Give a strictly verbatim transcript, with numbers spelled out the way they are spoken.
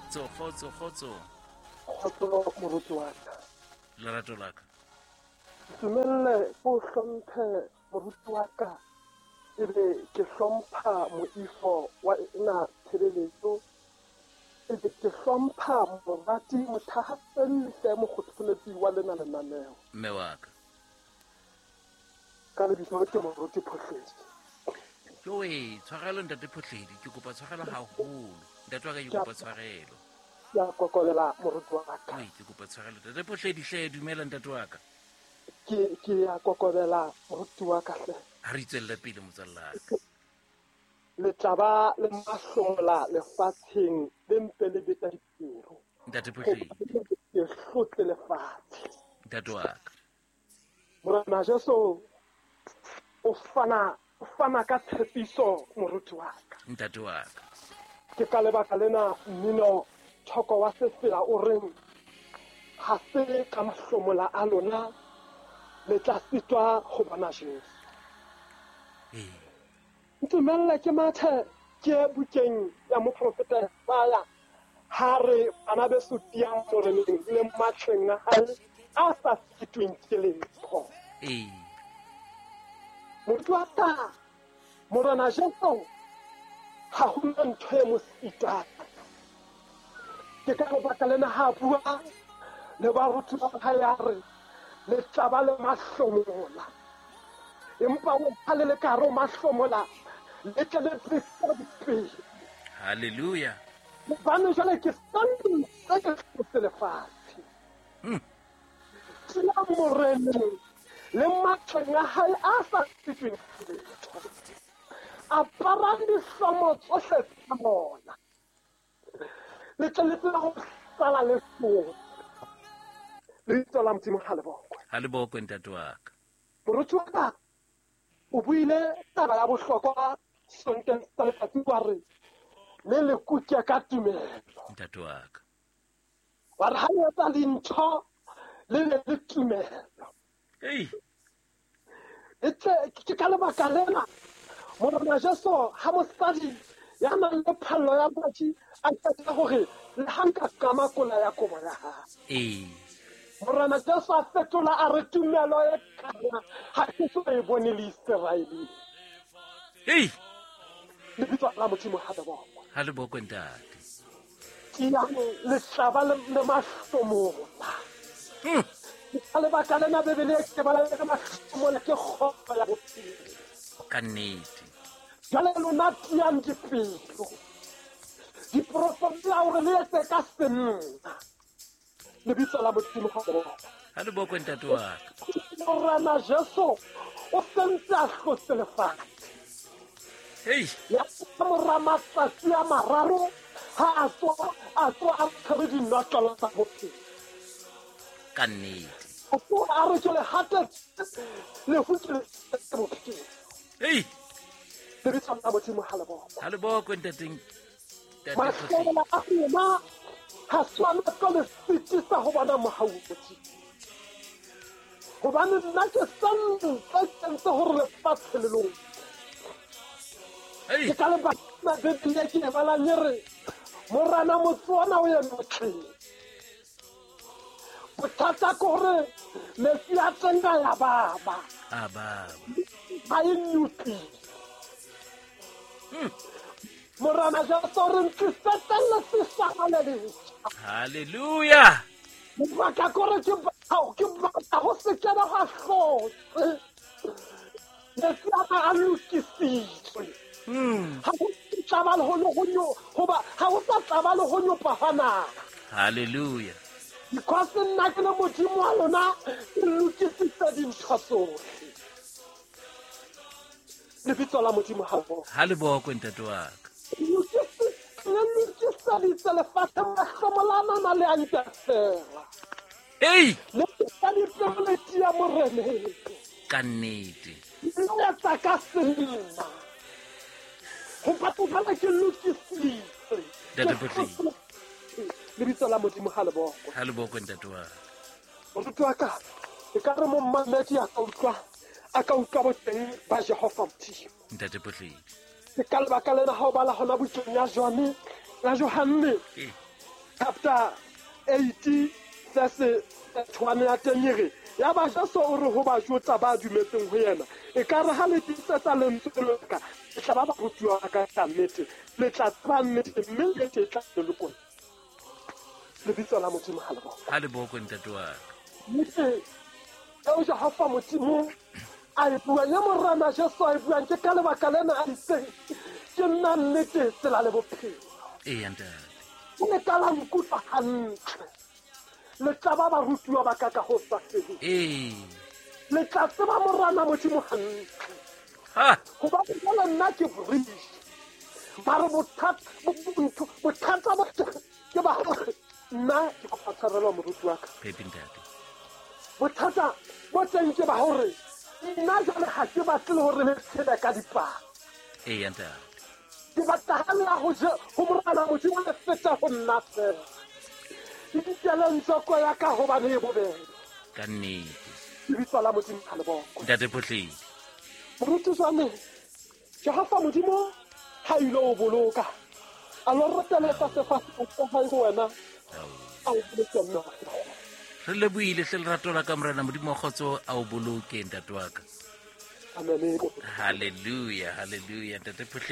Kgotso, kgotso, kgotso. Kgotso moruti wa ka. Lerato la ka. Ntumelle ko hlomphe moruti wa ka, ebe ke hlompha moifo wa ena tshebeletso, ebe ke hlompha morati mothahaselli hle mokgotholetsi wa lena lenaneo. Mme wa ka. Ka lebitso ke moruti Phohledi. Joe, tshwarelo ntate Phohledi, ke kopa tshwarelo haholo. Ntate wa ka ke kopa tshwarelo. Ke a kokolela moruti wa ka. Oi, ke kopa tshwarelo. Ntate Phohledi hle, dumela ntate wa ka. Ke ke a kokobela moruti wa ka hle. Ha re tswelle pele motswalla ka. Le tla le mahlomola lefatsheng le mpe le beta dipelo. Ntate Phohledi. Ke hlotle lefatshe. Ntate wa ka. Morena Jesu o fana o fana ka tshepiso moruti wa ka. Ntate wa ka. Ke ka lebaka lena mmino thoko wa sefela o reng ha se ka mahlomola a lona le tla sitwa ho bona Jesu. Ee. Ntumelle ke mathe ke bukeng ya moprofeta Isaya ha re bana beso tiyang moreneng le matleng a hae a sa sitweng ke letho. Ee. Moruti wa ka, Morena Jesu ha ho na ntho e mo sitang. Ke ka lebaka lena ha bua le baruti ba hae a re le tla ba le mahlomola, empa o ha le le ka hare ho mahlomola le tle le tlise dipelo. Hallelujah. Hobane jwale ke santse ke hlotse lefatshe. Mm. Tsela moreneng le matleng a hae a sa sitweng ke letho. Aparang dihlomo tsohle tsa bona, le tle le tsebe ho sala le hlotse. Lebitso la Modimo ha le bokwe. Ha le bokwe ntate wa ka. Moruti wa ka o buile taba ya bohlokwa sonteng sa letsatsi wa re le le kuke ka tumelo. Ntate wa ka. Wa re ha le etsa dintho le le le tumelo. Ei. E tle ke ka lebaka lena Morena Jesu ha mosadi ya nang le phallo ya madi a qeta hore le ha nka kama kola ya kobo ya hae. Ee. Morena Jesu a fetola a re tumelo e kana ha ke so e bone le Israeleng. Ei. Lebitso la Modimo ha le bokwe. Ha le bokwe ntate. Tiyang le tlaba le le mahlomola. Mm. Ka lebaka lena Bibele e ke bala ka mahlomola ke kgotso ya bophelo. Ka nnete. Jwale lona tiyang dipelo. Diprofeti hore le etse ka senna. Lebitso la Modimo ha le bokwe. Ha le bokwe ntate wa ka. Morena Jesu o sentse a hlotse lefatshe. Ei. Ya mora matsatsi a mararo ha a tswa a tswa a tshwere dinotlolo tsa bophelo. Ka nnete. A tswa a re ke le hatetse lefu ke le bophelo. Ei. Lebitso la Modimo ha le bokwe. Ha le bokwe ntateng. Ntate Mahlomola a rona ha swana ka le sitisa ho bona mohau wa Modimo. Hobane nna ke santse ke ntse hore lefatshe le lona. Ei. Ke ka lebaka la Bibele ke e balang e re Morena motse ona o eme motleng. Bothata ke hore metsi a teng a ya baba. A baba. Ha e nyopile. Mm. Morena Jesu re ntlisetse le sesana le letjha. Hallelujah. Lebaka ke hore ke batla ke batla ho se kena ha hlotse. Metsi a ka a lokisitswe. Mm. Ha ho tlaba le ho ho nyo hoba ha ho sa tlaba le ho nyopa hwa naha. Hallelujah. Because nna ke le Modimo wa lona ke lokisitse dintho tsohle. Lebitso la Modimo ha le bokwe. Ha le bokwe ntate wa ka. Le lokiseditse lefatshe mahlomola a nana le a ntafela. Ei. Le ka dipelo le tiya moreneng. Ka nnete. Le etsa ka senna. Ho batho bana ke lokisitse. Ntate Phohledi. Lebitso la Modimo ha le bokwe. Ha le bokwe ntate wa ka. Moruti wa ka, e ka re momamedi a ka utlwa a ka utlwa boteng ba Jehova Modimo. Ntate Phohledi. Ke ka lebaka lena ha o bala hona bukeng ya Johanne, ya Johanne Ee. chapter eight verse one ya teng e re ya ba Jesu o re ho Bajuda ba dumetseng ho yena e ka re ha le tiisetsa lentswe la ka le tla ba barutiwa ba ka ka nnete le tla tseba nnete mme nnete e tla le lokolla. Lebitso la Modimo ha le bokwe. Ha le bokwe ntate wa ka. Nnete eo Jehova Modimo a e buang ya Morena Jesu a e buang ke ka lebaka lena a itseng ke nna nnete tsela le bophelo. Eya ntate. Le ka la nkutlwa hantle. Le tla ba barutiwa ba ka ka ho sa feleng. Ee. Le tla tseba Morena Modimo hantle. Ha. Hobane jwale nna ke bridge. Mare bothata bothata bo ke ba hore nna ke kopa tshwarelo moruti wa ka. Phepi ntate. Bothata bo teng ke ba hore nna jwale ha ke batle le hore le tshele ka dipalo. Eya ntate. Ke batla ha le ho je ho Morena Modimo le feta ho nna fela. Nkeleng tsoko ya ka hobane e bobebe. Ka nnete. Lebitso la Modimo ha le bokwe. Ntate Phohledi. Moruti jwale Jehova Modimo ha ile o boloka. A lo reteletsa sefahleho sa hae ho wena. A o boloke mme wa fela. Re lebohile hle lerato la ka Morena Modimo wa kgotso a o boloke ntate wa ka. Amen. Hallelujah, hallelujah ntate Phohledi.